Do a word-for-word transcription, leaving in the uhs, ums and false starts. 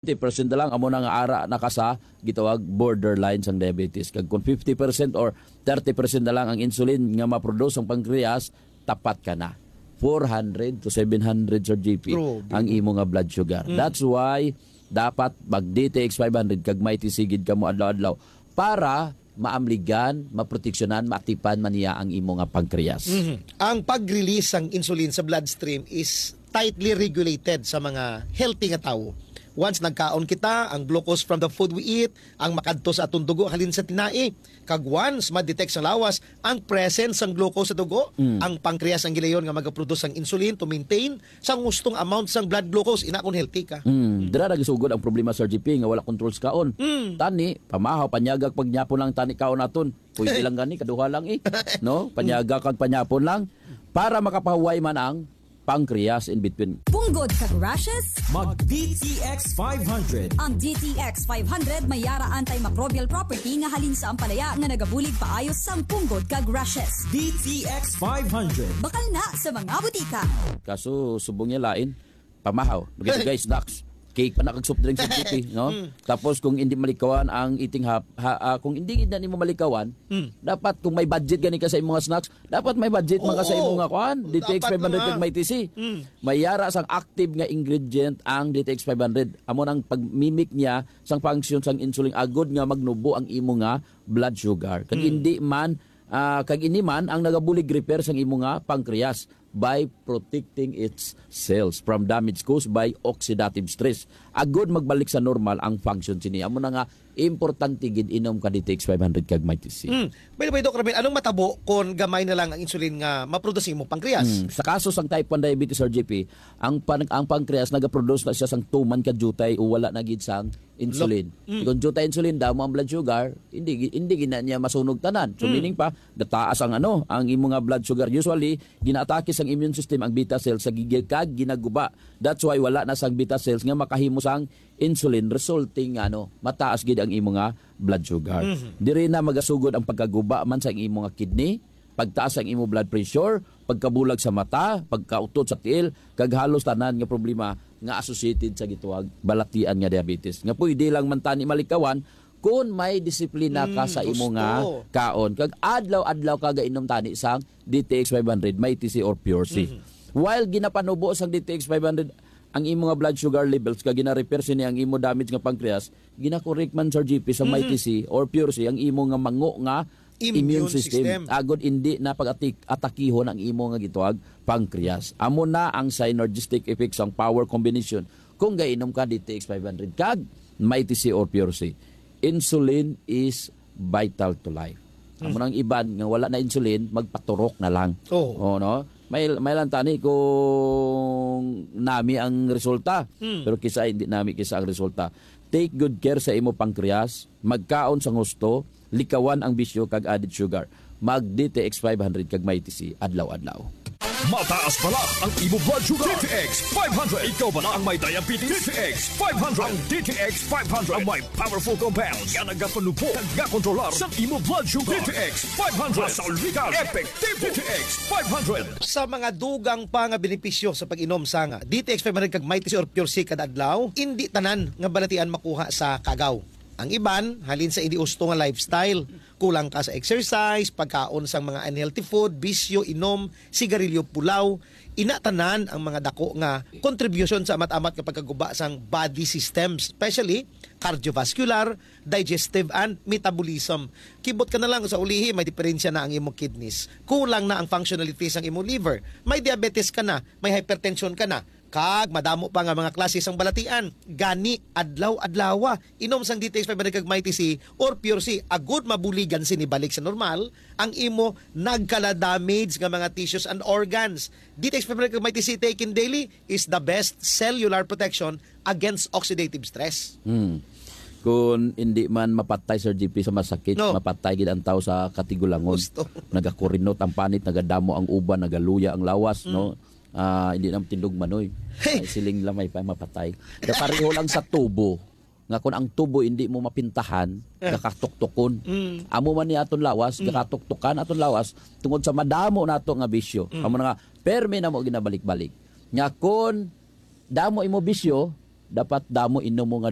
Twenty percent na lang, amo na nga ara na ka sa gitawag borderline sang diabetes. Kag kung fifty percent or thirty percent na lang ang insulin nga maproduce ang pancreas, tapat ka na. Four hundred to seven hundred, Sir G P, Grabe. ang imo nga blood sugar. Mm. That's why dapat mag D T X five hundred kag may tisigid ka mo adlaw-adlaw para maamligan, maproteksyonan, maatipan man niya ang imo nga pancreas. Mhm. Ang pag-release sang insulin sa bloodstream is tightly regulated sa mga healthy nga tawo. Once nagkaon kita, ang glucose from the food we eat, ang makadto sa atong dugo halin sa tinai, kag once ma-detect sa lawas ang presence sang glucose sa dugo, Mm. ang pancreas ang gilayon nga magaproduce sang insulin to maintain sang hustong amount sang blood glucose, ina kon healthy ka. Mm. Dira nagasugod ang problema, Sir G P, nga wala control sa kaon. Mm. Tani, pamahaw, panyagag pagyapon lang tani kaon naton. Pwede lang gani, kaduha lang eh. No? Panyaga kag panyapon lang para makapahuway man ang pancreas in between. Punggod kag rashes? Mag D T X five hundred. Ang D T X five hundred may yara antimicrobial property nga halin sa ampalaya nga nagabulig paayo sang punggod kag rashes. D T X five hundred. Bakal na sa mga butika. Kaso, subong niya lain, pamahaw, dugay-dugay, snacks, cake pa na kag soft drinks sa G P, no? Mm. Tapos kung hindi malikawan ang eating hab-, ha, ah, kung hindi na nimo malikawan, Mm. dapat kung may budget gani ka sa imong snacks, dapat may budget man ka sa Oo. imong nga kuan, Dapat D T X five hundred na. kag may T C. Mm. May yara sang active nga ingredient ang D T X five hundred. Amo nang pagmimik niya sang function sang insulin agod nga magnubo ang imo nga blood sugar. Kag Mm. hindi man, ah, kag ini man ang nagabulig repair sang imo nga pancreas by protecting its cells from damage caused by oxidative stress. Agod magbalik sa normal ang function sini. Amo na nga, importante gid inom ka D T X five hundred kag may T C. Mm. By the way, Doc Ramil, anong matabo kung gamay na lang ang insulin nga maproduce sa imong pancreas? Mm. Sa kaso sang type one diabetes, Sir G P, ang pan-, ang pancreas nagaproduce na siya sang tuman ka jutay o wala na gid sang insulin. Lo-, mm. Kung jutay insulin, damo ang blood sugar, hindi gi-, hindi gid na niya masunog tanan. So, Mm. meaning pa, gataas ang ano, ang imo nga blood sugar. Usually, ginaatake sang immune system ang beta cells sa gigil kag ginaguba. That's why wala na sang beta cells nga makahimo sang insulin, resulting nga, ano, mataas gid ang imo nga blood sugar. Mhm. Diri na magasugod ang pagkaguba man sa imo nga kidney, pagtaas ang imo blood pressure, pagkabulag sa mata, pagkautot sa tiil, kag halos tanan nga problema nga associated sa gitawag balatian nga diabetes. Nga pwede lang man tani malikawan kung may disiplina ka Mm, sa imo nga gusto. kaon. Kag adlaw-adlaw ka gainom tani sang D T X five hundred, may T C or Pure C. Mhm. While ginapanubo sang D T X five hundred ang imo nga blood sugar levels, kag gina-repair sini ang imo damage nga pancreas, gina-correct man, Sir G P, sa may Mhm. T C or Pure C ang imo nga mango nga Immune immune system. system. Agod hindi na pag-atik-, atakihon ang imo nga gitawag pancreas. Amo na ang synergistic effect sang power combination kung gainom ka D T X five hundred kag may T C or Pure C. Insulin is vital to life. Amo Hmm. nang iban nga wala na insulin, magpaturok na lang. Oo. Oh, no? May, may lang tani kung nami ang resulta. Hmm. Pero kisa hindi nami kisa ang resulta. Take good care sa imo pancreas, magkaon sang husto, likawan ang bisyo kag added sugar. Mag D T X five hundred kag may T C adlaw-adlaw. Mataas bala ang imo blood sugar. D T X five hundred. Ikaw bala ang may diabetes? D T X five hundred. Ang D T X five hundred ang may powerful compounds nga nagapanubo kag gakontrolar sa imo blood sugar. D T X five hundred. Masaulwigan. Effective. D T X five hundred. Sa mga dugang pa nga benepisyo sa pag-inom sang D T X five hundred kag may T C or Pure C kada adlaw, indi tanan nga balatian makuha sa kaagaw. Ang iban, halin sa indi husto nga lifestyle. Kulang ka sa exercise, pagkaon sang mga unhealthy food, bisyo, inom, sigarilyo, pulaw. Ina tanan ang mga dako nga contribution sa amat-amat nga pagkaguba sang body systems, especially cardiovascular, digestive, and metabolism. Kibot ka na lang sa ulihi, may diferensya na ang imong kidneys. Kulang na ang functionality sang imong liver. May diabetes ka na, may hypertension ka na. Kag madamo pa nga mga klase sang balatian. Gani, adlaw-adlawa, inom sang D T X five hundred kag may T C or Pure C, agud mabuligan sini balik sa normal ang imo nagkala-damage nga mga tissues and organs. D T X five hundred kag may T C taken daily is the best cellular protection against oxidative stress. Hmm. Kung hindi man mapatay, Sir G P, sa masakit, No. mapatay gid ang tao sa katigulangon. Gusto. Nagakurinot ang panit, nagadamo ang uban, nagaluya ang lawas, Mm. no? Ah, hindi na tindog manoy. Hey! Ay, siling lamay pa mapatay. Kaya pareho lang sa tubo. Nga kung ang tubo hindi mo mapintahan, Eh. gakatuktokon. Mm. Amo man ni aton lawas, Mm. gakatuktokan aton lawas tungod sa madamo nato nga bisyo. Mm. Amo na nga, permi na mo ginabalik-balik. Nga kung damo imo bisyo, Dapat damo inom mo nga